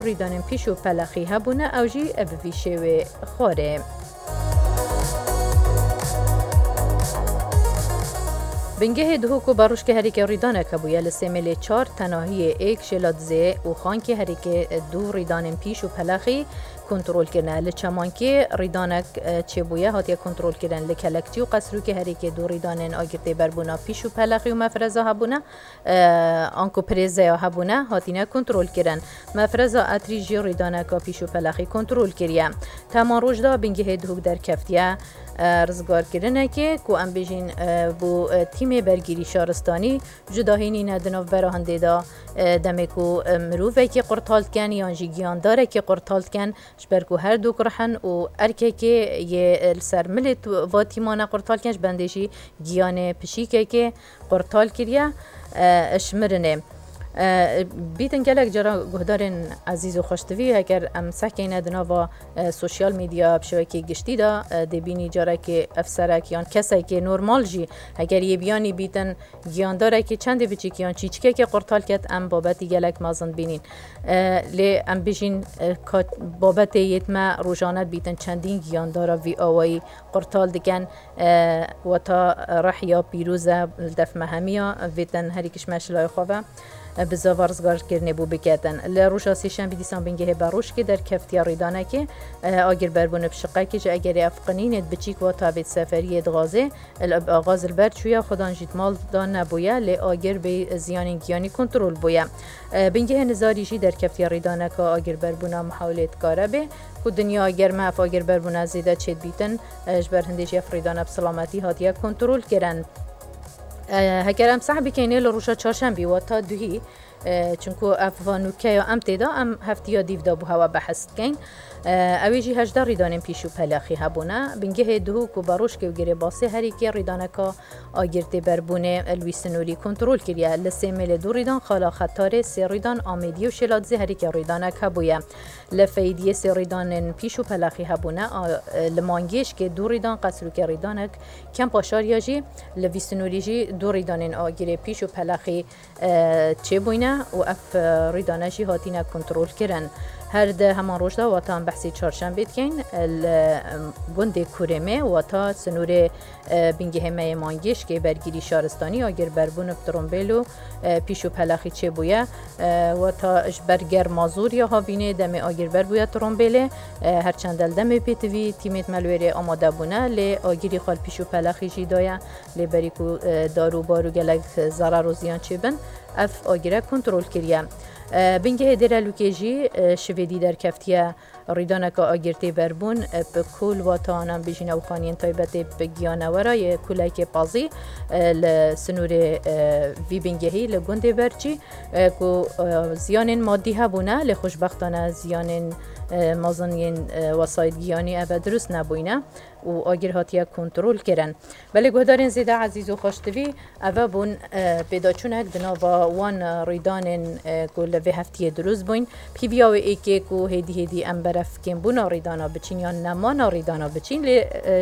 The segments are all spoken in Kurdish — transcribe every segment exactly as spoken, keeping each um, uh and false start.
Rîdanên pîş û pelexî hebûne, ew jî bi vî şêwê xwarê. Bingehê Duhok û Barûşkê herêkê rîdanek hebûye. Li Sêmêlê çar, Tenahiyê êk, Şêladizê û Xankê herêkê du rîdanên pîş û pelexî kontrol kirine. Li Çemankê rîdanek, e, çêbûye, hatiye kontrol kirin. Li Kelekçî û Qesrûkê herêkê du rîdanên agirtêberbûna pîş û pelexî û mefreza hebûne. e, anku pirêzeya hebûne hatine kontrol kirin. Mefreza Etrî jî rîdaneka pîş û pelexî kontrol kiriye. Teman roj de Bingehê Duhok derkeftiye, e, rizgarkirinekê ku em bêjin, e, bo, e, tîmê bergîrî şaristanî cudahî nîne di navbera hindê de, e, demê ku, e, mirovekî qurtal dikin yan jî giyandarekî qurtal dikin, ji ber ku her du rih in û erkekê yê li ser milê tu-, va tîmane qurtal kirin, ji bendê jî giyanê pişîkekê qurtal kiriye, e, ji mirinê. E, bîtin gelek cara guhdarên ezîz û xweştivî, heger em sehkeyne di nava, e, sosyal medya bi şewekê giştî de, e, dê bînî carekê efserek yan kesekê normal jî, heger yê biyanî bîtin giyandarekî çendê biçîk yan çîçikekê qurtal ket, em babetî gelek mezin bînîn. E, lê em bijîn, e, ka babetê yê me rojane bîtin çendîn giyandara vî awayî qurtal dikin. E, weta rih ya pîroz e, li def me hemiya, vêtin herî kişme şilay xwe ve, e, bi zava rizgarkirinê bû biketin. Li roja sêşembî dîsan Bingehê Barûşkê derkeftiye rîdanekê, e, agirberbûn bi şiqekê ji egerê ev qinînê di biçîk weta vê seferiyê di gazê, li axaz li ber çûye, xudan jî di mal de nebûye, lê agir bê ziyanên giyanî kontrol bûye. E, Bingehê Nizarî jî derkeftiye rîdaneka agirberbûna mihawilê dikare bê, ku dinya ger me ev agirberbûna zêde çêdibîtin, e, ji ber hindê jî ev rîdane bi silametî hatiye kontrol kirin. E, heger em seh bikeynê li roja çarşembî, wata duhî, e, çunku ev va nûke ya em tê de, em heftiya dîv de bo hewa behs dikeyn. E, ew ê jî hejdeh rîdanên pîş û pelexî hebûne. Bingehê Duhok û Barûşkê û Girêbasê herî kê rîdaneka agirtêberbûnê li wî sinûrî kontrol kiriye. Li Sêmêlê du rîdan, Xala Xetarê sê rîdan, Amêdiyê û Şêladizê herî kê rîdanek hebûye. Li Feydiyê sê rîdanên pîş û pelexî hebûne, a, li Mangêşkê du rîdan, Qesrûkê rîdanek, Kempa Şariya jî li vî sinûrî jî du rîdanên agirê pîş û pelexî, e, çêbûyne û ev, e, rîdane jî hatine kontrol kirin. Her di heman roj de wata em behsê çarşembê dikeyn, e, li, em, gundê Kurêmê wata sinûrê, e, Bingehê me yê Mangêşkê bergîrî şaristanî agirberbûn bi trombêl û, e, pîş û pelexî çêbûye. E, wata ji ber germa zor ya havînê demê agir ber bûye trombêlê. E, her çend li demê pêtivî tîmêt me li wêrê amade bûne, lê agirî xwe li pîş û pelexî jî daye. Lê berî ku, e, dar û bar û gelek zarar û ziyan çêbin, ev agire kontrol kiriye. E, Bingehê Dêrelûkê jî, e, şivêdî derkeftiye rîdaneka agirtê berbûn, e, bi kul watan em bijîne û xaniyên taybetê bi giyanewera yê kulekê pazî, e, li sinûrê, e, vî bingehî li gundê Berçî, e, ku, e, ziyanên madî hebûne, lê xweşbextane ziyanên, e, mezin yên, e, wesayît giyanî eve dirust nebûyne û agir hatiye kontrol kirin. Belê guhdarên zêde ezîz û xweştivî, eve bûn, e, pêdaçûnek di nava wan rîdanên, e, ku li vê heftiyê dirust bûyn. Pîviya wê êkê ku hêdî hêdî em beref kêmbûna rîdana biçîn yan nemana rîdana biçîn, lê,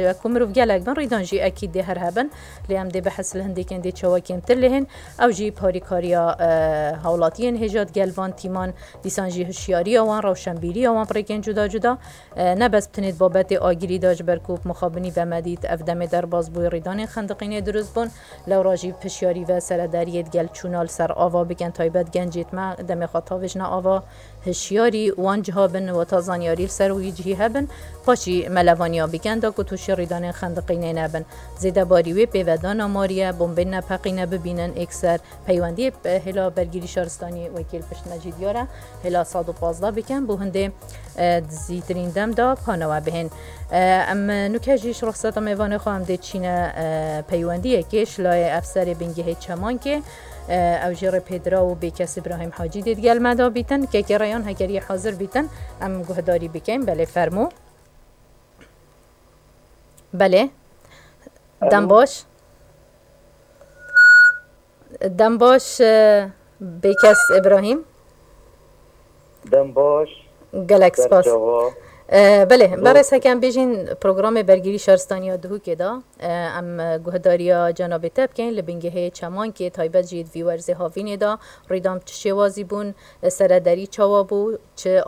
e, ku mirov gelek bin rîdan jî ekîd dê her hebin, lê em dê behs li hindêkên dê çawa kêmtir lê hên. Ew jî parîkariya, e, hawlatiyên hêja digel van tîman, dîsan jî hişyariya wan, rewşenbîriya wan bi rêkên cuda cuda. E, ne bes bi tinê di babetê agirî de, ji ber ku bi mixabinî ve me dît, ev demê derbas bûyî rîdanên xendiqînê dirust bûn. Lewra jî bi hişyarî ve seredariyê digel çûna li ser ava bikin, taybet gencêt me demê xwe tavêjine ava, hişyarî wan ciha bin, wata zanyarî li ser wî cihî hebin, paşî me levaniya bikin da ku tûşî rîdanên xendiqînê nebin. Zêde barî wê pêvedana mariye, bombên nepeqîne bibînin êkser. Peywendiyê, e, hêla bergîrî şaristanî wekî li pişt me jî diyar e, hêla sed û pazdeh bikin, bo hindê, e, di zîtirîn dem de panewe bihên. E, em, e, nûke jî ji ruxseta mêvanê xwe em dê çîne, e, peywendiyekê ji layê efserê bingehê Çemankê, e, ew jî rêpêdira û bêkes Îbrahîm Hacî dê digel me de bîtin. Kekê Reyan heger yê hazir bîtin, em guhdarî bikeyn. Belê, fermû. Belê. Dem Alo. Baş. Dem baş, e, Bêkes Îbrahîm. Dem baş. Gelek spas. Serçava. E, belê, Dost. Berêz heke em bêjîn programê bergîrî şaristaniya Duhokê de, e, em, e, guhdariya cenabê te bikeyn li bingehê Çemankê, taybet jî di vî werzê havînê de rîdan bi çi şêwazî bûn, e, seredarî çawa bû, çi